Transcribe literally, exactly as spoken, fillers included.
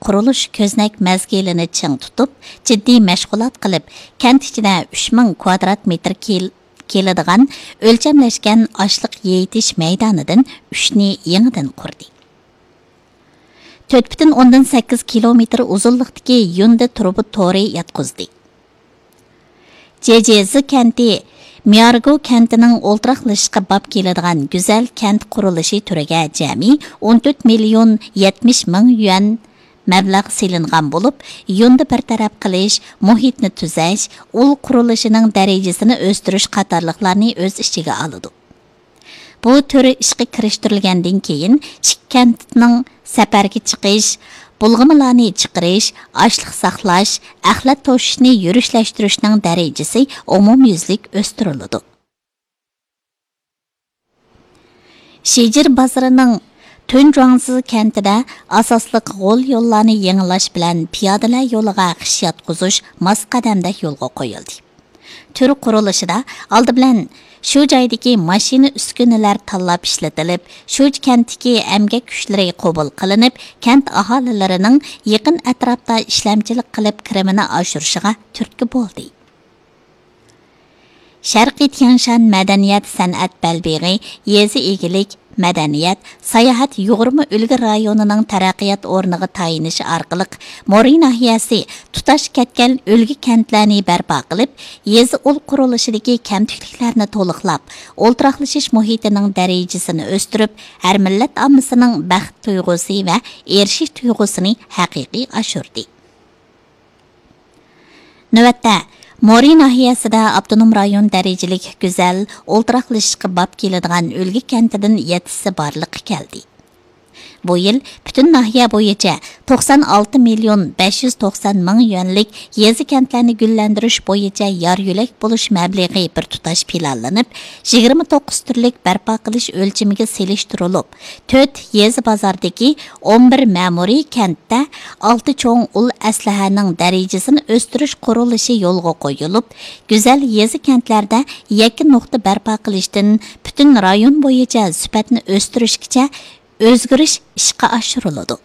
قۇرۇلۇش كۆزنەك مەزگىلىنى چىڭ تۇتۇپ، جىددىي مەشغۇلات قىلىپ، كەنت ئىچىدە ئۈچ مىڭ كۋادرات مېتىر كېل-، كېلىدىغان ئۆلچەملەشكەن ئاشلىق يېيىتىش مەيدانىدىن ئۈچنى يېڭىدىن قۇردى. تۆت پۈتۈن ئوندىن سەككىز كىلومېتىر ئۇزۇنلۇقتىكى يۇندى تۇرۇبا تورى ياتقۇزدى. جېجېزى كەنتى ميارگو كەنتىنىڭ ئولتۇراقلىشىشقا باب كېلىدىغان گۈزەل كەنت قۇرۇلۇشى تۈرىگە جەمئىي ئون تۆت مىليون يەتمىش مىڭ يۈەن مەبلەغ سېلىنغان بولۇپ، يۇندى بىر تەرەپ قىلىش، مۇھىتنى تۈزەش، ئۇل قۇرۇلۇشىنىڭ دەرىجىسىنى ئۆستۈرۈش قاتارلىقلارنى ئۆز ئىچىگە ئالىدۇ. بۇ تۈر ئىشقا كىرىشتۈرۈلگەندىن كېيىن، ئىككى كەنتنىڭ سەپەرگە چىقىش، بۇلغىمىلارنى چىقىرىش، ئاشلىق ساقلاش، ئەخلەت توشۇشنى يۈرۈشلەشتۈرۈشنىڭ دەرىجىسى ئومۇميۈزلۈك ئۆستۈرۈلىدۇ. شىجىر بازىرىنىڭ تۈنجۇاڭزى كەنتىدە ئاساسلىق غول يوللارنى يېڭىلاش بىلەن پىيادىلەر يولىغا خىش ياتقۇزۇش ماس قەدەمدە يولغا قويۇلدى. تۈر قۇرۇلۇشىدا ئالدى بىلەن شۇ جايدىكى ماشىنا ئۈسكۈنىلەر تاللاپ ئىشلىتىلىپ، شۇ كەنتتىكى ئەمگەك كۈچلىرى قوبۇل قىلىنىپ، كەنت ئاھالىلىرىنىڭ يېقىن ئەتراپتا ئىشلەمچىلىك قىلىپ كىرىمىنى ئاشۇرۇشىغا تۈرتكە بولدى. شەرقىي تيەنشان مەدەنىيەت سەنئەت بەلبېغى يېزا ئىگىلىك، مەدەنىيەت، ساياھەت يۇغۇرما ئۈلگە رايونىنىڭ تەرەققىيات ئورنىغا تايىنىشى ئارقىلىق، مورى ناھىيەسى تۇتاش كەتكەن ئۈلگە كەنتلەرنى بەرپا قىلىپ، يېزا ئۇل قۇرۇلۇشىدىكى كەمتۈكلۈكلەرنى تولۇقلاپ، ئولتۇراقلىشىش مۇھىتىنىڭ دەرىجىسىنى ئۆستۈرۈپ، ھەر مىللەت ئاممىسىنىڭ بەخت تۇيغۇسى ۋە ئېرىشىش تۇيغۇسىنى ھەقىقىي ئاشۇردى. نۆۋەتتە، مورى ناھىيەسىدە ئاپتونوم رايون دەرىجىلىك گۈزەل، ئولتۇراقلىشىشقا باب كېلىدىغان ئۈلگە كەنتىدىن يەتتىسى بارلىققا كەلدى. بۇ يىل پۈتۈن ناھىيە بويىچە توقسان ئالتە مىليون بەش يۈز توقسان مىڭ يۈەنلىك يېزا كەنتلەرنى گۈللەندۈرۈش بويىچە يار يۆلەك بولۇش مەبلىغى بىر تۇتاش پىلانلىنىپ، يىگىرمە توققۇز تۈرلۈك بەرپا قىلىش ئۆلچىمىگە سېلىشتۇرۇلۇپ، تۆت يېزا بازاردىكى ئون بىر مەمۇرىي كەنتتە ئالتە چوڭ ئۇل ئەسلىھەنىڭ دەرىجىسىنى ئۆستۈرۈش قۇرۇلۇشى يولغا قويۇلۇپ، گۈزەل يېزا كەنتلەردە يەككە نۇقتا بەرپا قىلىشتىن پۈتۈن رايون بويىچە سۈپەتنى ئۆستۈرۈشكىچە ئۆزگىرىش ئىشقا ئاشۇرۇلىدۇ.